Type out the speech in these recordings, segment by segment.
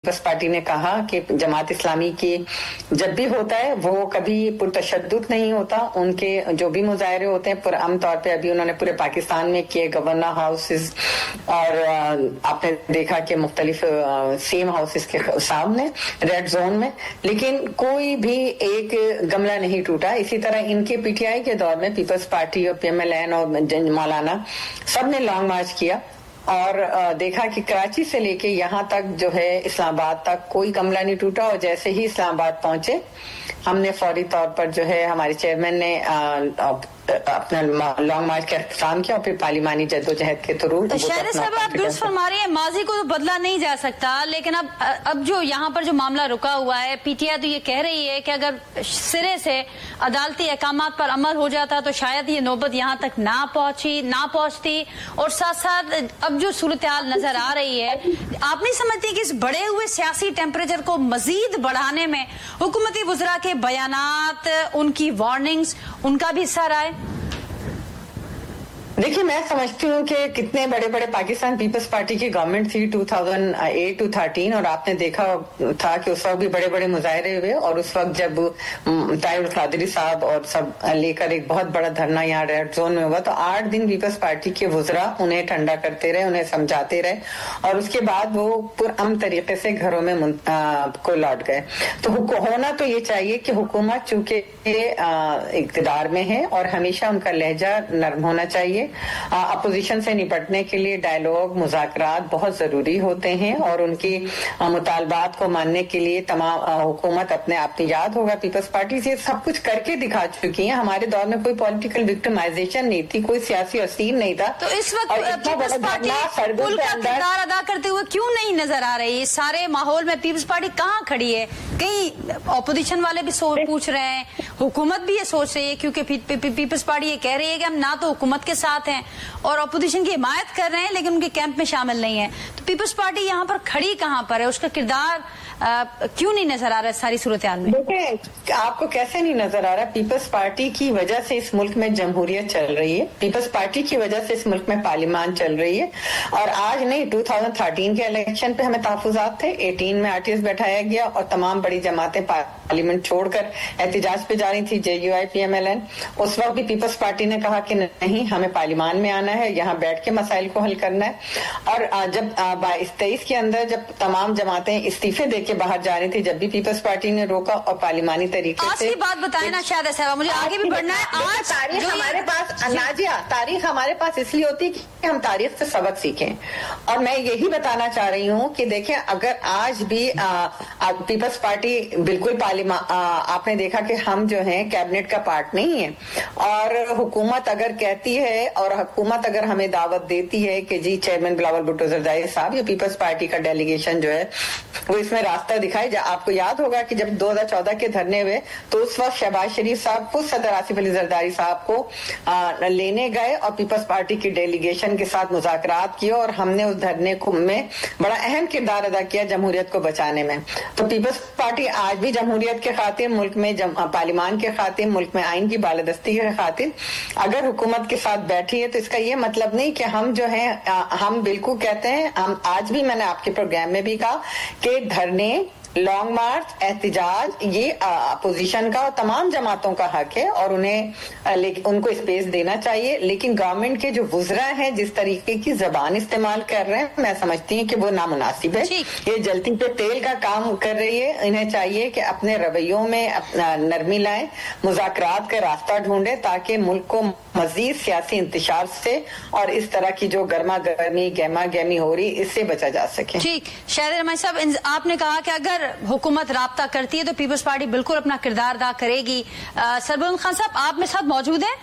Peoples party ने कहा कि जमात इस्लामी की जब भी होता है वो कभी पुरतशद्दुद नहीं होता। उनके जो भी मुजाहरे होते हैं पुरअमन तौर पे, अभी उन्होंने पूरे पाकिस्तान में किए गवर्नर हाउसेस और आपने देखा कि मुख्तलिफ सीएम हाउसेस के सामने रेड जोन में, लेकिन कोई भी एक गमला नहीं टूटा। इसी तरह इनके पीटीआई के दौर में पीपल्स पार्टी और पीएमएलएन और मौलाना सब ने लॉन्ग मार्च किया और देखा कि कराची से लेके यहाँ तक जो है इस्लामाबाद तक कोई गमला नहीं टूटा। और जैसे ही इस्लामाबाद पहुंचे हमने फौरी तौर पर जो है हमारे चेयरमैन ने अपना लॉन्ग मार्च का अख्ताम किया और फिर पार्लिमानी जद्दोजहद के थ्रू। तो शाहिदा साहब, आप दुरुस्त फरमा रही हैं, माजी को तो बदला नहीं जा सकता, लेकिन अब जो यहाँ पर जो मामला रुका हुआ है, पीटीआई तो ये कह रही है कि अगर सिरे से अदालती अहकामात पर अमल हो जाता तो शायद ये नौबत यहाँ तक ना पहुँचती। और साथ साथ अब जो सूरत हाल नजर आ रही है, आप नहीं समझती कि इस बढ़े हुए सियासी टेम्परेचर को मजीद बढ़ाने में हुकूमती वुज़रा के बयानात, उनकी वार्निंग्स, उनका भी हिस्सा रहा है? देखिए, मैं समझती हूँ कि कितने बड़े बड़े पाकिस्तान पीपल्स पार्टी की गवर्नमेंट थी 2008 to 13 और आपने देखा था कि उस वक्त भी बड़े बड़े मुजाहरे हुए और उस वक्त जब ताहिर कादरी साहब और सब लेकर एक बहुत बड़ा धरना यहाँ रेड जोन में हुआ तो 8 दिन पीपल्स पार्टी के वुज़रा उन्हें ठंडा करते रहे, उन्हें समझाते रहे और उसके बाद वो पुरअमन तरीके से घरों में को लौट गए। तो होना तो ये चाहिए कि हुकूमत चूंकि इक़्तिदार में है और हमेशा उनका लहजा नरम होना चाहिए। अपोजिशन से निपटने के लिए डायलॉग, मुज़ाकरात बहुत जरूरी होते हैं और उनकी मुतालबात को मानने के लिए तमाम हुकूमत अपने आप में, याद होगा पीपल्स पार्टी से सब कुछ करके दिखा चुकी है। हमारे दौर में कोई पॉलिटिकल विक्टिमाइजेशन नहीं थी, कोई सियासी असीर नहीं था। तो इस वक्त पीपल्स पार्टी पुल का किरदार अदा करते हुए क्यों नहीं नजर आ रही? सारे माहौल में पीपल्स पार्टी कहाँ खड़ी है? कई अपोजिशन वाले भी पूछ रहे हैं, हुकूमत भी ये सोच रही है, क्योंकि पीपल्स पार्टी ये कह रही है कि हम ना तो हुकूमत के साथ हैं और अपोजिशन की हिमायत कर रहे हैं, लेकिन उनके कैंप में शामिल नहीं है। तो पीपल्स पार्टी यहाँ पर खड़ी कहाँ पर है? उसका किरदार क्यों नहीं नजर आ रहा है सारी सूरत हाल में? देखिए, आपको कैसे नहीं नजर आ रहा? पीपल्स पार्टी की वजह से इस मुल्क में जमहूरियत चल रही है, पीपल्स पार्टी की वजह से इस मुल्क में पार्लिमान चल रही है। और आज नहीं, 2013 के इलेक्शन पे हमें तहफ़्फ़ुज़ात थे, 18 में आरटीएस बैठाया गया और तमाम बड़ी जमातें पार्लियामेंट छोड़कर एहतजाज पे जा रही थी, JUI PMLN। उस वक्त भी पीपल्स पार्टी ने कहा कि नहीं, हमें पार्लिमान में आना है, यहाँ बैठ के मसाइल को हल करना है। और जब 22-23 के अंदर जब तमाम जमातें इस्तीफे दे के बाहर जा रही थी, जब भी पीपल्स पार्टी ने रोका और पार्लिमानी तरीके आज से। की बात बताए ना शाहिदा साहब, मुझे आगे भी बढ़ना है। आज तारीख हमारे पास, नाजिया, तारीख हमारे पास इसलिए होती है कि हम तारीख से सबक सीखें। और मैं यही बताना चाह रही हूँ कि देखें, अगर आज भी पीपल्स पार्टी बिल्कुल आपने देखा कि हम जो है कैबिनेट का पार्ट नहीं है और हुकूमत अगर कहती है और हुकूमत अगर हमें दावत देती है कि जी चेयरमैन बिलावल भुट्टो जरदारी साहब या पीपल्स पार्टी का डेलीगेशन जो है वो इसमें रास्ता दिखाए। आपको याद होगा कि जब 2014 के धरने हुए तो उस वक्त शहबाज शरीफ साहब को सदर आसिफ अली जरदारी साहब को लेने गए और पीपल्स पार्टी की डेलीगेशन के साथ मुज़ाकरात किए और हमने उस धरने को में बड़ा अहम किरदार अदा किया जमहूरियत को बचाने में। तो पीपल्स पार्टी आज भी जमहूरियत के खातिर, मुल्क में पार्लिमान के खातिर, मुल्क में आइन की बालादस्ती के खातिर अगर हुकूमत के साथ बैठी है तो इसका ये मतलब नहीं कि हम जो है, हम बिल्कुल कहते हैं, हम आज भी, मैंने आपके प्रोग्राम में भी कहा कि धरने, लॉन्ग मार्च, एहतजाज ये अपोजिशन का और तमाम जमातों का हक है और उन्हें उनको स्पेस देना चाहिए। लेकिन गवर्नमेंट के जो वुज़रा हैं जिस तरीके की जबान इस्तेमाल कर रहे हैं, मैं समझती हूँ कि वो नामुनासिब है। ये जलती पे तेल का काम कर रही है। इन्हें चाहिए कि अपने रवैयों में अपना नरमी लाएं, मुज़ाकरात का रास्ता ढूंढे ताकि मुल्क को मजीद सियासी इंतशार से और इस तरह की जो गर्मा गर्मी, गहमा गहमी हो रही, इससे बचा जा सके। ठीक, शाहिदा रहमान साहब, आपने कहा कि अगर हुकूमत राब्ता करती है तो पीपल्स पार्टी बिल्कुल अपना किरदार अदा करेगी। सरबुलंद खान साहब, आप मेरे साथ मौजूद हैं?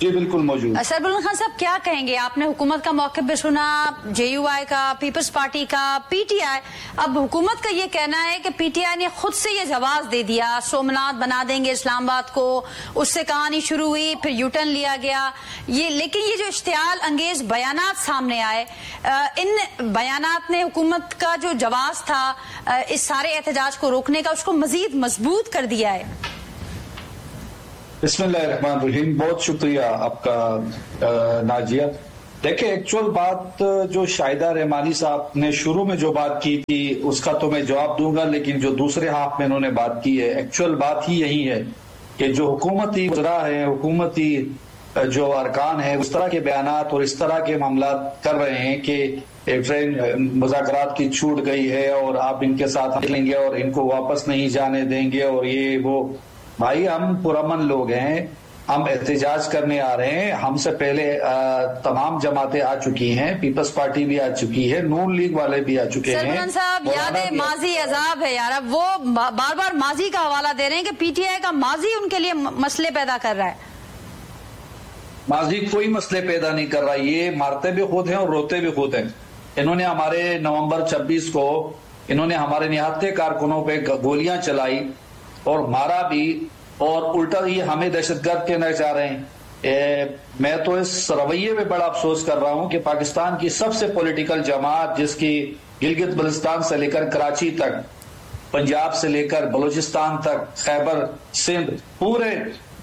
जी बिल्कुल मौजूद। सरबुलंद खान साहब, क्या कहेंगे? आपने हुकूमत का मौक़िफ़ भी सुना, JUI का, पीपल्स पार्टी का, PTI। अब हुकूमत का ये कहना है कि PTI ने खुद से ये जवाब दे दिया, सोमनाथ बना देंगे इस्लामाबाद को, उससे कहानी शुरू हुई, फिर यूटर्न लिया गया ये। लेकिन ये जो इश्तियाल अंगेज बयानात सामने आए, इन बयानात ने हुकूमत का जो जवाब था इस सारे एहतजाज को रोकने का, उसको मजीद मजबूत कर दिया है। बिस्मिल्लाहिर्रहमानिर्रहीम। बहुत शुक्रिया आपका नाजिया। देखिए, एक्चुअल बात जो शाहिदा रहमानी साहब ने शुरू में जो बात की थी उसका तो मैं जवाब दूंगा, लेकिन जो दूसरे हाफ में उन्होंने बात की है, एक्चुअल बात ही यही है कि जो हुकूमती वज़रा है, हुकूमती जो अरकान है, उस तरह के बयानात और इस तरह के मामलात कर रहे हैं कि ट्रेन मुज़ाकरात की छूट गई है और आप इनके साथ लेंगे और इनको वापस नहीं जाने देंगे और ये वो। भाई, हम पुरअमन लोग हैं, हम एहतजाज करने आ रहे हैं। हमसे पहले तमाम जमातें आ चुकी हैं, पीपल्स पार्टी भी आ चुकी है, नून लीग वाले भी आ चुके हैं। साहब, याद है माजी अजाब है यार। अब वो बार बार माजी का हवाला दे रहे हैं कि पीटीआई का माजी उनके लिए मसले पैदा कर रहा है। माजी कोई मसले पैदा नहीं कर रहा, ये मारते भी खुद हैं और रोते भी खुद हैं। इन्होंने हमारे नवंबर 26 को इन्होंने हमारे निहत्थे कारकुनों पे गोलियां चलाई और मारा भी, और उल्टा ये हमें दहशतगर्द कहना चाह रहे हैं। मैं तो इस रवैये में बड़ा अफसोस कर रहा हूं कि पाकिस्तान की सबसे पॉलिटिकल जमात, जिसकी गिलगित बल्तिस्तान से लेकर कराची तक, पंजाब से लेकर बलूचिस्तान तक, खैबर, सिंध, पूरे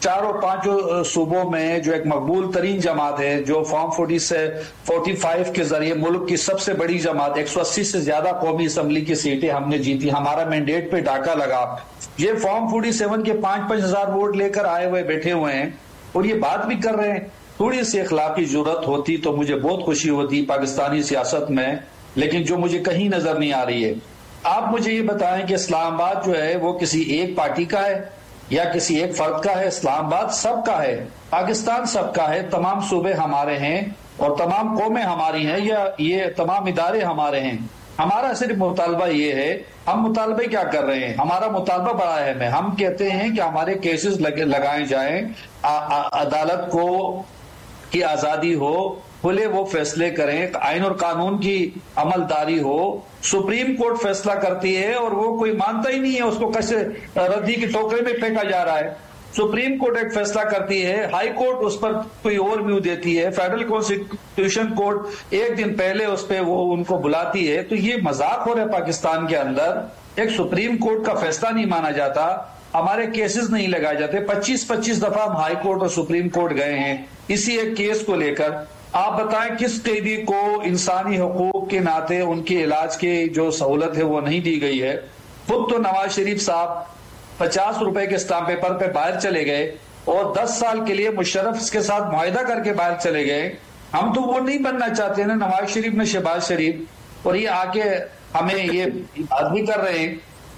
चारों पांचों सूबों में जो एक मकबूल तरीन जमात है, जो फॉर्म 40 से 45 के जरिए मुल्क की सबसे बड़ी जमात, 180 से ज्यादा कौमी असम्बली की सीटें हमने जीती, हमारा मैंडेट पे डाका लगा। ये फॉर्म 47 के 5-5 हजार वोट लेकर आए हुए बैठे हुए हैं और ये बात भी कर रहे हैं। थोड़ी सी अखलाकी जुर्रत होती तो मुझे बहुत खुशी होती पाकिस्तानी सियासत में, लेकिन जो मुझे कहीं नजर नहीं आ रही है। आप मुझे ये बताएं कि इस्लामाबाद जो है वो किसी एक पार्टी का है या किसी एक फर्द का है? इस्लामाबाद सबका है, पाकिस्तान सबका है, तमाम सूबे हमारे हैं और तमाम कौमें हमारी हैं, या ये तमाम इदारे हमारे हैं। हमारा सिर्फ मुतालबा ये है, हम मुतालबे क्या कर रहे हैं, हमारा मुतालबा बड़ा अहम है। हम कहते हैं कि हमारे केसेस लगाए जाएं, अदालत को की आजादी हो, खुले वो फैसले करें, आइन और कानून की अमलदारी हो। सुप्रीम कोर्ट फैसला करती है और वो कोई मानता ही नहीं है, उसको कैसे रद्दी के टोकरे में फेंका जा रहा है। सुप्रीम कोर्ट एक फैसला करती है, हाई कोर्ट उस पर कोई और व्यू देती है, फेडरल कॉन्स्टिट्यूशन कोर्ट एक दिन पहले उस पर वो उनको बुलाती है। तो ये मजाक हो रहा है पाकिस्तान के अंदर। एक सुप्रीम कोर्ट का फैसला नहीं माना जाता, हमारे केसेस नहीं लगाए जाते। 25-25 दफा हम हाई कोर्ट और सुप्रीम कोर्ट गए हैं इसी एक केस को लेकर। आप बताएं किस कैदी को इंसानी हकूक के नाते उनके इलाज की जो सहूलत है वो नहीं दी गई है। खुद तो नवाज शरीफ साहब 50 रुपए के स्टाम्प पेपर पे बाहर चले गए और 10 साल के लिए मुशर्रफ के साथ मुआहिदा करके बाहर चले गए। हम तो वो नहीं बनना चाहते ना नवाज शरीफ ने शहबाज शरीफ, और ये आके हमें ये बात भी कर रहे हैं।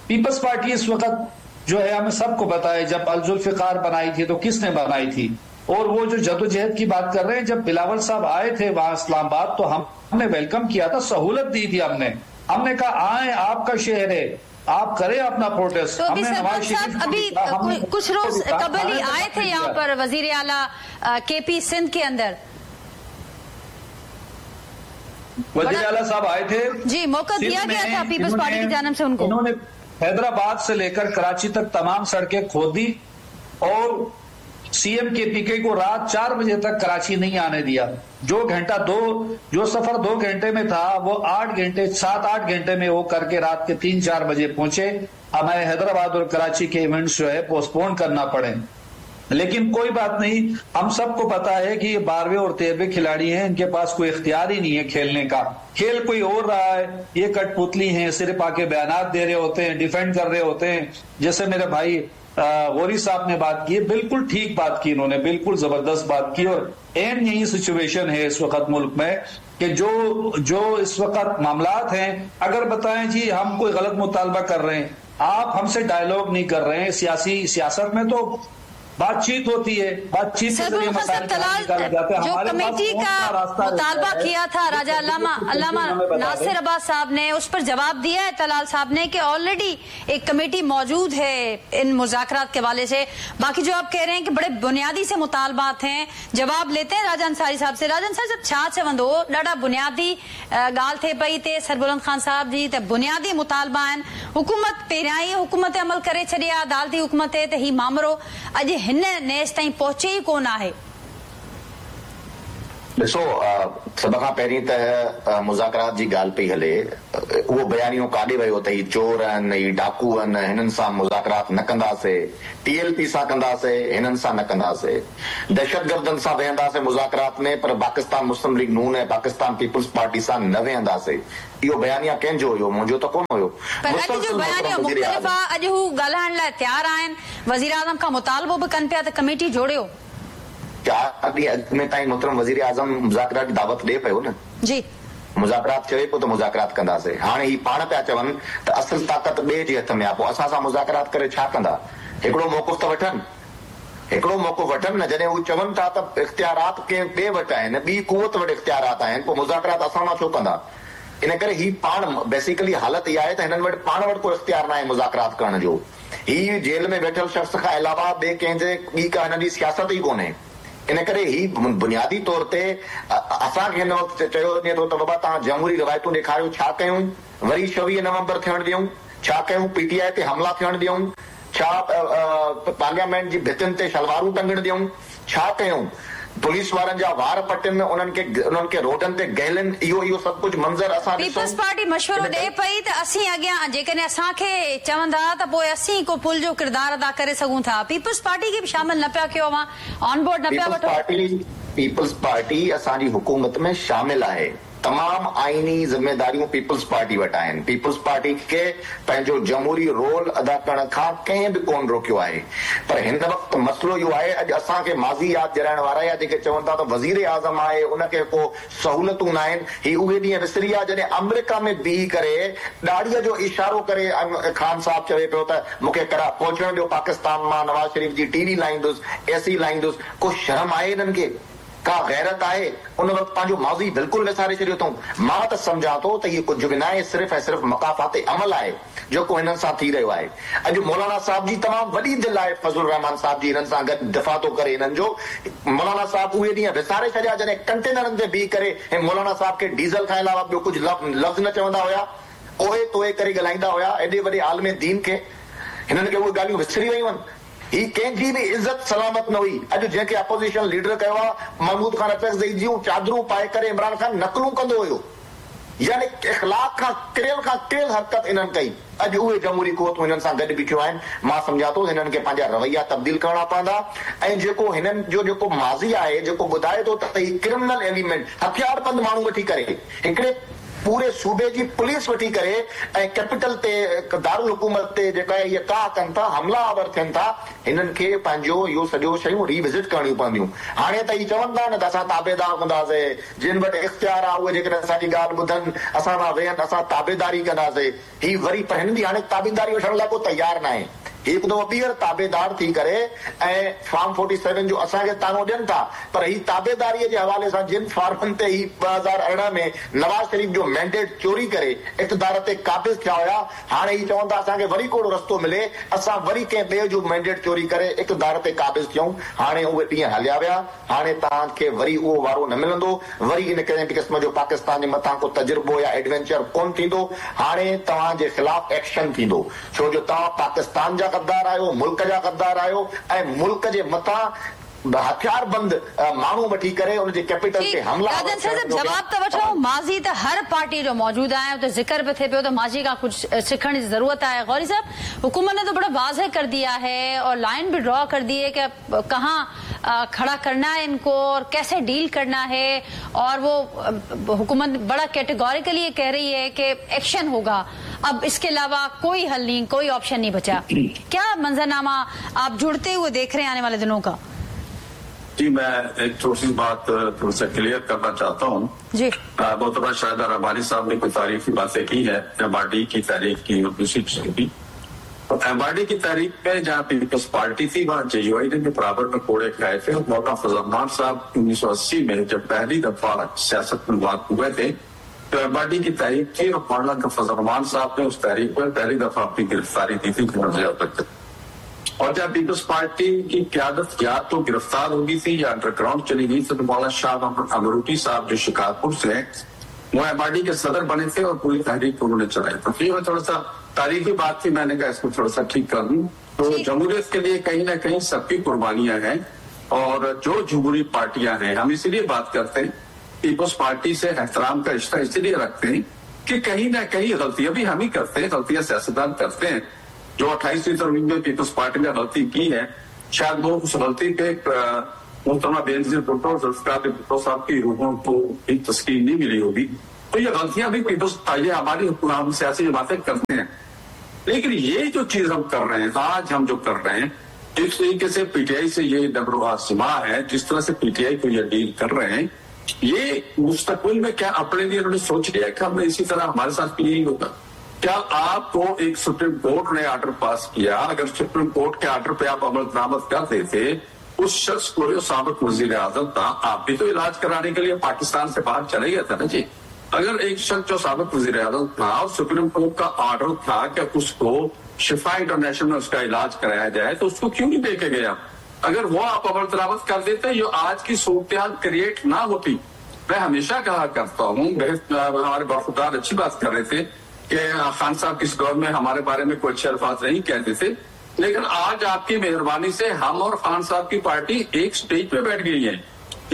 पीपल्स पार्टी इस वक्त जो है हमें सबको पता है, जब अल-जुल्फिकार बनाई थी तो किसने बनाई थी, और वो जो जदोजहद की बात कर रहे हैं, जब बिलावल साहब आए थे वहां इस्लामाबाद तो हमने welcome किया था, सहूलत दी थी हमने। हमने कहा आए, आपका शहर है, आप करें अपना प्रोटेस्ट। तो अभी साहब अभी कुछ रोज कबल ही आए थे यहाँ पर वजीर आला केपी सिंध के अंदर, वजीर आला साहब आए थे जी, मौका दिया गया था पीपल्स पार्टी की जानिब से उनको। उन्होंने हैदराबाद से लेकर कराची तक तमाम सड़कें खोद दी और सीएम के पीके को रात 4 बजे तक कराची नहीं आने दिया। जो घंटा दो, जो सफर 2 घंटे में था वो 8 घंटे, 7-8 घंटे में वो करके रात के 3-4 बजे पहुंचे। हमें हैदराबाद और कराची के इवेंट्स जो है पोस्टपोन करना पड़े, लेकिन कोई बात नहीं। हम सबको पता है कि ये 12वें और 13वें खिलाड़ी हैं, इनके पास कोई इख्तियार ही नहीं है खेलने का। खेल कोई और रहा है, ये कठपुतली हैं, सिर्फ आके बयानात दे रहे होते हैं, डिफेंड कर रहे होते हैं। जैसे मेरे भाई गौरी साहब ने बात की, बिल्कुल ठीक बात की इन्होंने, बिल्कुल जबरदस्त बात की। और एन यही सिचुएशन है इस वक्त मुल्क में कि जो जो इस वक्त मामलात हैं, अगर बताएं जी हम कोई गलत मुतालबा कर रहे हैं, आप हमसे डायलॉग नहीं कर रहे हैं। सियासी सियासत में तो बातचीत होती है, बातचीत के जरिए मसाइल निकाले जाते हैं। जो कमेटी का मुतालबा किया था राजा अल्लामा नासिर अब्बास साहब ने, उस पर जवाब दिया है तलाल साहब ने कि ऑलरेडी एक कमेटी मौजूद है इन मुज़ाकरात के हवाले से। बाकी जो आप कह रहे हैं कि बड़े बुनियादी से मुतालबात हैं, जवाब लेते हैं राजा अंसारी साहब से। राजा अंसारी साहब, छा चवंदो ॾाढा बुनियादी ॻाल्हि थिए पई ते सरबुलंद खान साहब जी त बुनियादी मुतालबा आहिनि। हुकूमत पहिरियां ई हुकूमत ते अमल करे छॾी आहे, अदालती हुकूमत ते, त ही मामरो अॼु हिन नेस ताईं पहुचे ई कोन आहे। ॾिसो, सभ खां पहिरीं त मुज़ाकरात जी ॻाल्हि पई हले, उहो बयानियो काॾे वियो त ही चोर आहिनि, ही डाकू आहिनि, हिननि सां मुज़ाकरात न कंदासीं, टीएलपी सां कंदासीं, हिननि सां न कंदासीं, दहशतगर्दनि सां वेहंदासीं मुज़ाकरात में, पर पाकिस्तान मुस्लिम लीग नून ऐं पाकिस्तान पीपल्स पार्टी सां न वेहंदासीं। इहो बयानिया कंहिंजो हुयो? मुंहिंजो त कोन हुयो। पर अॼु जो बयानियो मुख़्तलिफ़ आहे, अॼु हू ॻाल्हाइण लाइ तयारु आहिनि, वज़ीर आज़म खां मुतालबो बि कनि पिया त कमेटी जोड़ियो। 4 ॾींहं अॻु में ताईं मोहतरम वज़ीर आज़म मुज़ाकरात जी दावत ॾिए पियो न जी, मुज़ाकरात चवे पियो त मुज़ाकरात कंदासीं। हाणे ही पाण पिया चवनि त असल ताक़त ॿिए जे हथ में आहे, पोइ असां सां मुज़ाकरात करे छा कंदा? हिकिड़ो मौक़िफ़ त वठनि, हिकिड़ो मौक़ो वठनि न। जॾहिं हू चवनि था त इख़्तियारात कंहिं ॿिए वटि आहिनि, ॿी कुवत वटि इख़्तियारात आहिनि, पोइ मुज़ाकरात असां मां छो कंदा? इन करे ही पाण बेसिकली हालत इहा आहे त हिननि वटि पाण वटि को इख़्तियार न आहे मुज़ाकरात करण जो। ही जेल में वेठल शख़्स खां अलावा ॿिए कंहिंजे ॿी का हिननि जी सियासत ई कोन्हे। इन करे ही बुनियादी तौर ते असांखे हिन वक़्तु चयो वञे थो त बाबा तव्हां जमहूरी रिवायतूं ॾेखारियो, छा कयूं? वरी 26 नवंबर थियण ॾियूं? छा कयूं? पीटीआई ते हमला थियण ॾियूं? छा पार्लियामेंट जी भितियुनि ते शलवारूं टंगण ॾियूं? छा कयूं? पुलिस वारनि जा वार पटनि, उन्हनि खे रोडनि ते गहलनि, इहो इहो सभु कुझु मंज़र असां पीपल्स पार्टी मशवरो ॾे पई त असीं अॻियां जेकॾहिं असांखे चवंदा त पोइ असीं को पुल जो किरदारु अदा करे सघूं था। पीपल्स पार्टी खे बि शामिल न पिया कयो, अव्हां ऑन बोर्ड न पिया वठो। पीपल्स पार्टी असांजी हुकूमत में शामिल आहे, तमाम आईनी ज़िम्मेदारियूं पीपल्स पार्टी वटि आहिनि। पीपल्स पार्टी खे पंहिंजो जमहूरी रोल अदा करण खां कंहिं बि कोन रोकियो आहे। पर हिन वक़्तु मसइलो इहो आहे, अॼु असांखे माज़ी यादि ॾियारण वारा या जेके चवनि था त वज़ीर आज़म आहे उनखे को सहूलियतूं न आहिनि, ही उहे ॾींहं विसरी विया जॾहिं अमेरिका में बीही करे ॾाढ़ीअ जो इशारो करे खान साहिबु चवे पियो त मूंखे करा पहुचण ॾियो पाकिस्तान मां, नवाज़ शरीफ़ जी टीवी लाहींदुसि, एसी लाहींदुसि। को शर्म आहे हिननि खे? का गैरत आहे? उन वक़्तु पंहिंजो माज़ी बिल्कुलु विसारे छॾियो अथऊं। मां त सम्झां थो त इहो कुझु बि न आहे, सिर्फ़ ऐं सिर्फ़ मकाफ़ात अमल आहे जेको हिननि सां थी रहियो आहे। अॼु मौलाना साहिब जी तमामु वॾी दिलि आहे, फज़ुल रहमान साहिब जी हिननि सां गॾु दिफ़ा थो करे हिननि जो। मौलाना साहिब उहे ॾींहं विसारे छॾिया जॾहिं कंटेनरनि ते बीह करे ऐं मौलाना साहिब खे डीज़ल खां अलावा ॿियो कुझु लफ़्ज़ न चवंदा हुया, ओहे तोहे करे ॻाल्हाईंदा हुया। एॾे वॾे आलम दीन खे हिननि खे उहे ॻाल्हियूं विसरी वयूं आहिनि। ही कंहिंजी बि इज़त सलामत न हुई। अॼु जंहिंखे अपोज़िशन लीडर कयो आहे, महमूद ख़ान अचकज़ई जूं चादरूं पाए करे इमरान ख़ान नकलूं कंदो हुयो, यानी इख़लाक खां किरियल हरकत इन्हनि कई। अॼु उहे जमहूरी कुवतूं हिननि सां गॾु बीठियूं आहिनि। मां सम्झां थो हिननि खे पंहिंजा रवैया तब्दील करणा पवंदा ऐं जेको हिननि जो जेको माज़ी आहे, जेको ॿुधाए थो त ही क्रिमिनल एलिमेंट हथियारबंद माण्हू वठी करे हिकिड़े पूरे सूबे जी पुलिस वठी करे ऐं कैपिटल ते दारुल हुकूमत ते जेका इहे का कनि था, हमला our थियनि था, हिननि खे पंहिंजो इहो सॼो शयूं रिविज़िट करणियूं पवंदियूं। हाणे त इहे चवनि था न त असां ताबेदार हूंदासीं, जिन वटि इख़्तियार आहे उहे जेकॾहिं असांजी ॻाल्हि ॿुधनि, असां सां वेहनि, असां ताबेदारी कंदासीं। ही वरी पर हिननि जी हाणे ताबेदारी वठण लाइ को तयारु न आहे। हिकु दफ़ो ॿीहर ताबेदार थी करे ऐं फॉर्म 47 जो असांखे तानो ॾियनि था, पर ही ताबेदारीअ जे हवाले सां जिन फॉर्मनि ते ही 2018 में नवाज़ शरीफ़ जो मैंडेट चोरी करे इक़्तिदार ते क़ाबिज़ थिया हुया, हाणे ही चवनि था असांखे वरी कोड़ो रस्तो मिले, असां वरी कंहिं ॿिए जो मैंडेट चोरी करे इक़्तिदार ते क़ाबिज़ थियूं। हाणे उहे ॾींहं हलिया विया, हाणे तव्हांखे वरी उहो वारो न मिलंदो, वरी इन कंहिं बि क़िस्म जो पाकिस्तान जे मथां को तजुर्बो या एडवेंचर कोन थींदो। हाणे तव्हांजे ख़िलाफ़ एक्शन थींदो, छो जो तव्हां पाकिस्तान जा गद्दार आहियो, मुल्क जा गद्दार आहियो ऐं मुल्क जे मथां हथियारबंद माण्हू वठी करे उनजे कैपिटल ते हमला। जवाब त वठो, माज़ी त हर पार्टी जो मौजूद आहे, उते ज़िक्र बि थिए पियो त माज़ी खां कुझु सिखण जी ज़रूरत आहे। गौरी साहब, हुकूमत ने तो बड़ा वाज़ेह कर दिया है और लाइन भी ड्रॉ कर दी है कि कहाँ खड़ा करना है इनको और कैसे डील करना है, और वो हुकूमत बड़ा कैटेगोरिकली ये कह रही है कि एक्शन होगा, अब इसके अलावा कोई हल नहीं, कोई ऑप्शन नहीं बचा। क्या मंजरनामा आप जुड़ते हुए देख रहे हैं आने वाले दिनों का? जी, मैं एक छोटी सी बात थोड़ा सा क्लियर करना चाहता हूँ जी। मोहतरमा शाहिदा रब्बानी साहब ने कुछ तारीफी बातें की है, एमआरडी की तारीफ की और दूसरी चीजों की। तो एमआरडी की तारीख में जहाँ पीपल्स पार्टी थी वहाँ जेयूआई ने भी बराबर में कोड़े खाए थे। और मौलाना फजल रहमान साहब 1980 में जब पहली दफा सियासत में बात हुए थे तो एमआरडी की तारीख थी और मौलाना फजल रहमान साहब ने उस तारीख में पहली दफा अपनी गिरफ्तारी दी थी। और जब पीपल्स पार्टी की क्यादत या तो गिरफ्तार हो गई थी या अंडरग्राउंड चली गई थी, तो मौलाना शाह अमरूटी साहब जो शिकारपुर से हैं वो एमआरडी के सदर बने थे और पूरी तहरीक उन्होंने चलाई। तो ये थोड़ा सा तारीखी बात थी, मैंने कहा इसको थोड़ा सा ठीक कर दूं। तो जमहूरियत के लिए कहीं ना कहीं सबकी कुर्बानियां हैं और जो जमहूरी पार्टियां हैं, हम इसीलिए बात करते हैं पीपल्स पार्टी से एहतराम का रिश्ता इसलिए रखते हैं कि कहीं ना कहीं गलतियां भी हम ही करते हैं, गलतियां सियासतदान करते हैं। जो 28वीं तरमीम में पीपल्स पार्टी ने गलती की है, शायद वो उस गलती पे मोहतरमा बेनजीर भुट्टो और जुल्फिकार भुट्टो साहब की रूहों को भी तस्कीन नहीं मिली होगी। तो ये गलतियां भी पीपल्स, ये हमारी हम सियासी जमातें करते हैं। लेकिन ये जो चीज हम कर रहे हैं, आज हम जो कर रहे हैं, जिस तरीके से पीटीआई से ये नब्र है, जिस तरह से पीटीआई को ये डील कर रहे हैं, ये मुस्तकबिल में क्या अपने लिए उन्होंने सोच लिया कि हमने इसी तरह हमारे साथ भी यही होगा? क्या आपको एक सुप्रीम कोर्ट ने ऑर्डर पास किया, अगर सुप्रीम कोर्ट के ऑर्डर पे आप अमल दरामद कर देते, उस शख्स को जो साबिक वजीर आजम था, आप भी तो इलाज कराने के लिए पाकिस्तान से बाहर चले गए थे ना जी। अगर एक शख्स जो साबिक वजीर आजम था और सुप्रीम कोर्ट का ऑर्डर था कि उसको शिफा इंटरनेशनल में उसका इलाज कराया जाए, तो उसको क्यों नहीं देखे गया? अगर वो आप अमल दरामद कर देते, ये आज की सूरत क्रिएट ना होती। मैं हमेशा कहा करता हूँ, हमारे बरखुदार अच्छी बात कर रहे थे कि खान साहब किस दौर में हमारे बारे में कोई अच्छे अल्फाज नहीं कहते थे, लेकिन आज आपकी मेहरबानी से हम और खान साहब की पार्टी एक स्टेज पे बैठ गई है,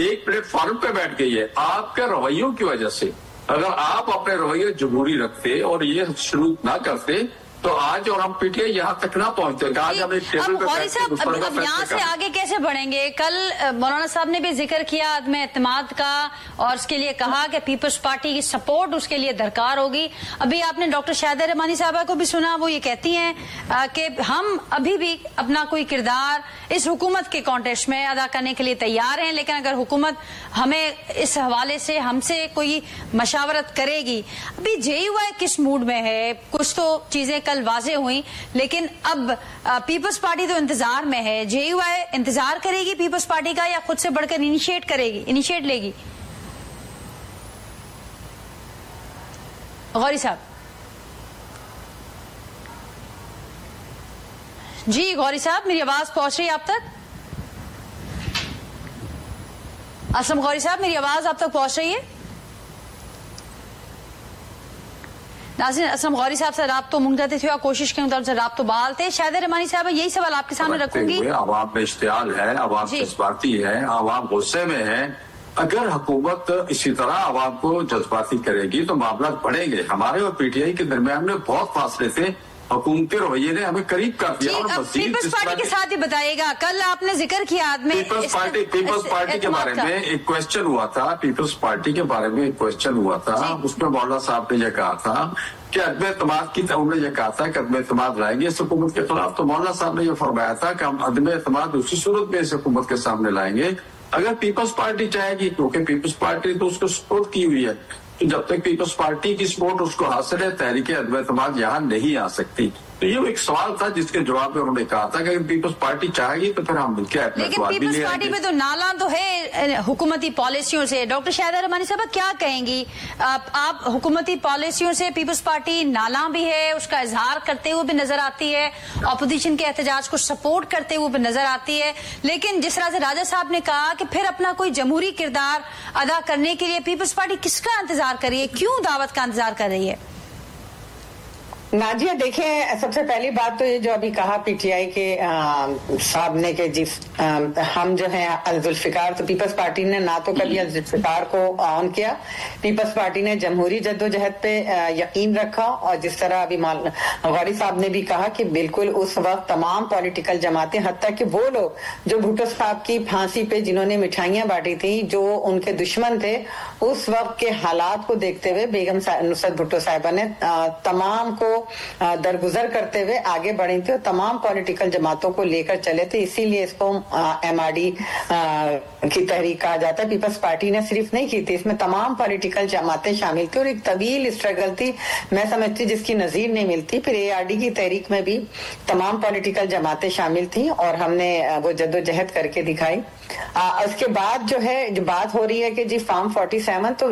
एक प्लेटफॉर्म पे बैठ गई है आपके रवैयों की वजह से। अगर आप अपने रवैये जमहूरी रखते और ये शुरू ना करते तो आज और हम पीटीआई यहाँ तक ना पहुँचते। आज हम एक टेबल पे गौरी साहब, अब यहाँ से आगे कैसे बढ़ेंगे? कल मौलाना साहब ने भी जिक्र किया अदम एतमाद का और उसके लिए कहा कि पीपल्स पार्टी की सपोर्ट उसके लिए दरकार होगी। अभी आपने डॉक्टर शाहिदा रहमानी साहबा को भी सुना, वो ये कहती हैं कि हम अभी भी अपना कोई किरदार इस हुकूमत के कॉन्टेस्ट में अदा करने के लिए तैयार हैं, लेकिन अगर हुकूमत हमें इस हवाले से हमसे कोई मशावरत करेगी। अभी जेयूआई किस मूड में है? कुछ तो चीजें वाजे हुई, लेकिन अब पीपल्स पार्टी तो इंतजार में है। जेयूआई इंतजार करेगी पीपल्स पार्टी का या खुद से बढ़कर इनिशिएट करेगी, इनिशिएट लेगी? गौरी साहब जी, गौरी साहब मेरी आवाज पहुंच रही है आप तक? असलम गौरी साहब मेरी आवाज आप तक पहुंच रही है? नाज़रीन, असलम गौरी साहब से राब्तो मुंगते थे और कोशिश करूं तो राब्तो बहाल थे। शाहिदा रहमानी साहब, यही सवाल आपके सामने रखूंगी। आवाम में इश्तियाल है, आवाम जज्बाती है, आवाम गुस्से में है। अगर हुकूमत इसी तरह आवाम को जज्बाती करेगी तो मामला बढ़ेंगे। हमारे और पीटीआई के दरमियान में बहुत फासले थे, हुकूमती रवैये ने हमें करीब कर दिया। और पीपल्स पार्टी के साथ ही बताइएगा, कल आपने जिक्र किया पीपल्स पार्टी के बारे में एक क्वेश्चन हुआ था, पीपल्स पार्टी के बारे में एक क्वेश्चन हुआ था, उसमें मौलाना साहब ने यह कहा था कि अदम एतमाद की, उन्होंने यह कहा था कि अदम एतमाद लाएंगे इस हुकूमत के खिलाफ। तो मौलाना साहब ने यह फरमाया था कि हम अदम एतमाद उसी सूरत में इस हुकूमत के सामने लाएंगे अगर पीपल्स पार्टी चाहेगी, क्योंकि पीपल्स पार्टी तो उसको सपोर्ट की हुई है। तो जब तक पीपल्स पार्टी की सपोर्ट उसको हासिल है, तहरीक अदम एतमाद यहाँ नहीं आ सकती। तो ये एक सवाल था जिसके जवाब में उन्होंने कहा था कि अगर पीपल्स पार्टी चाहेगी तो फिर हम मिलकर। लेकिन पीपल्स पार्टी में तो नाला तो है हुकूमती पॉलिसियों से। डॉक्टर शाहिदा रहमानी साहब क्या कहेंगी आप? हुकूमती पॉलिसियों से पीपल्स पार्टी नाला भी है, उसका इजहार करते हुए भी नजर आती है, अपोजिशन के एहतजाज को सपोर्ट करते हुए भी नजर आती है, लेकिन जिस तरह से राजा साहब ने कहा कि फिर अपना कोई जमहूरी किरदार अदा करने के लिए पीपल्स पार्टी किसका इंतजार कर रही है, क्यों दावत का इंतजार कर रही है? नाजिया देखें, सबसे पहली बात तो ये जो अभी कहा पीटीआई के साहब ने कि जिस हम जो है अल-जुल्फिकार, तो पीपल्स पार्टी ने ना तो कभी अल-जुल्फिकार को ऑन किया, पीपल्स पार्टी ने जमहूरी जद्दोजहद पे यकीन रखा। और जिस तरह अभी गौरी साहब ने भी कहा कि बिल्कुल उस वक्त तमाम पॉलिटिकल जमातें, हत्ता कि वो लोग जो भुट्टो साहब की फांसी पे जिन्होंने मिठाइयां बांटी थी, जो उनके दुश्मन थे, उस वक्त के हालात को देखते हुए बेगम नुसरत भुट्टो साहिबा ने तमाम को दरगुजर करते हुए आगे बढ़ी थी और तमाम पॉलिटिकल जमातों को लेकर चले थे। इसीलिए इसको एमआरडी की तहरीक कहा जाता है। पीपल्स पार्टी ने सिर्फ नहीं की थी, इसमें तमाम पॉलिटिकल जमातें शामिल थी और एक तवील स्ट्रगल थी, मैं समझती जिसकी नजीर नहीं मिलती। फिर एआरडी की तहरीक में भी तमाम पॉलिटिकल जमातें शामिल थी और हमने वो जद्दोजहद करके दिखाई। उसके बाद जो है जो बात हो रही है कि जी फॉर्म 47, तो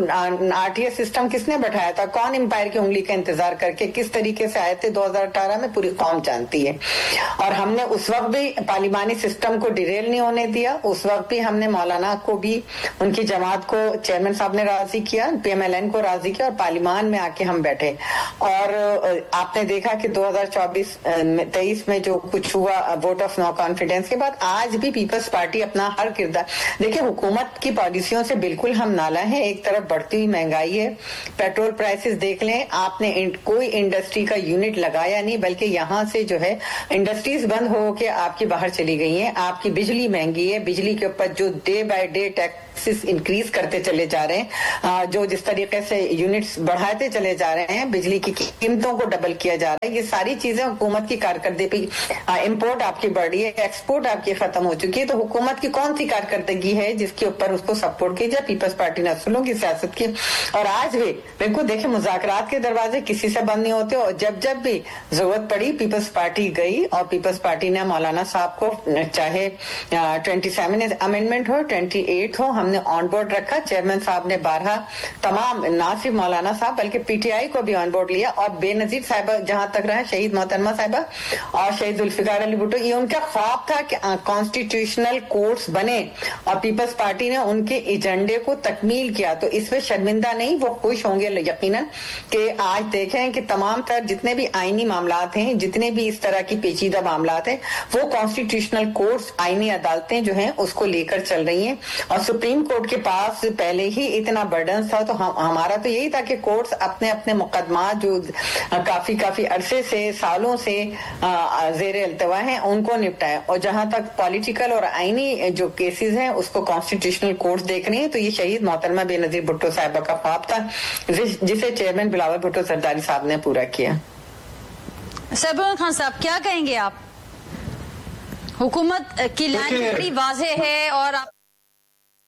आरटीएस सिस्टम किसने बैठाया था, कौन एम्पायर की उंगली का इंतजार करके किस तरीके से आए थे 2018 में, पूरी कौम जानती है। और हमने उस वक्त भी पार्लिमानी सिस्टम को डिरेल नहीं होने दिया। उस वक्त भी हमने मौलाना को भी, उनकी जमात को चेयरमैन साहब ने राजी किया, पीएमएलएन को राजी किया और पार्लिमान में आके हम बैठे। और आपने देखा कि 2024-23 में जो कुछ हुआ वोट ऑफ नो कॉन्फिडेंस के बाद, आज भी पीपल्स पार्टी अपना हर हर किरदार। देखिए, हुकूमत की पॉलिसियों से बिल्कुल हम नाला हैं। एक तरफ बढ़ती हुई महंगाई है, पेट्रोल प्राइसेस देख लें आपने, कोई इंडस्ट्री का यूनिट लगाया नहीं, बल्कि यहाँ से जो है इंडस्ट्रीज बंद हो के आपकी बाहर चली गई हैं। आपकी बिजली महंगी है, बिजली के ऊपर जो day by day taxes increase करते चले जा रहे हैं, जो जिस तरीके से यूनिट्स बढ़ाते चले जा रहे हैं, बिजली की कीमतों को डबल किया जा रहा है, ये सारी चीजें हुकूमत की कारकर्दगी। इम्पोर्ट आपकी बढ़ रही है, एक्सपोर्ट आपकी खत्म हो चुकी है, तो हुकूमत की कौन सी कारकर्दगी है जिसके ऊपर उसको सपोर्ट किया जाए? पीपल्स पार्टी ने असूलों की सियासत की और आज भी बिल्कुल देखें, मुज़ाकरात के दरवाजे किसी से बंद नहीं होते और जब जब भी जरूरत पड़ी पीपल्स पार्टी गई और पीपल्स पार्टी ने मौलाना साहब को चाहे 27 अमेंडमेंट हो, 28 हो, हमने ऑन बोर्ड रखा। चेयरमैन साहब ने 12 तमाम, ना सिर्फ मौलाना साहब बल्कि पीटीआई को भी ऑन बोर्ड लिया और बेनजीर साहिबा जहां तक रहे, शहीद मोहतरमा साहिबा और शहीद जुल्फिकार अली भुट्टो, ये उनका ख्वाब था कि कॉन्स्टिट्यूशनल कोर्ट्स बने और पीपल्स पार्टी ने उनके एजेंडे को तकमील किया। तो इसमें शर्मिंदा नहीं, वो खुश होंगे यकीनन कि आज देखें कि तमाम तर जितने भी आईनी मामलात हैं, जितने भी इस तरह की पेचीदा मामलात हैं, वो कॉन्स्टिट्यूशनल कोर्ट्स, आईनी अदालतें जो हैं उसको लेकर चल रही हैं। और सुप्रीम कोर्ट के पास पहले ही इतना बर्डन था, तो हमारा तो यही था कि कोर्ट्स अपने अपने मुकदमा जो काफी काफी अरसे से, सालों से ज़ेरे अल्तवा हैं, उनको निपटाएं। और जहां तक पॉलिटिकल और आईनी जो केसेस हैं उसको कॉन्स्टिट्यूशनल कोर्ट्स देख रही हैं। तो ये शहीद मोहतरमा बेनजीर भुट्टो साहिबा का ख्वाब था जिसे चेयरमैन बिलावल भुट्टो सरदारी साहब ने पूरा किया। सैबुल खान साहब, क्या कहेंगे आप? हुकूमत की लाइन बड़ी वाज़ेह है और आप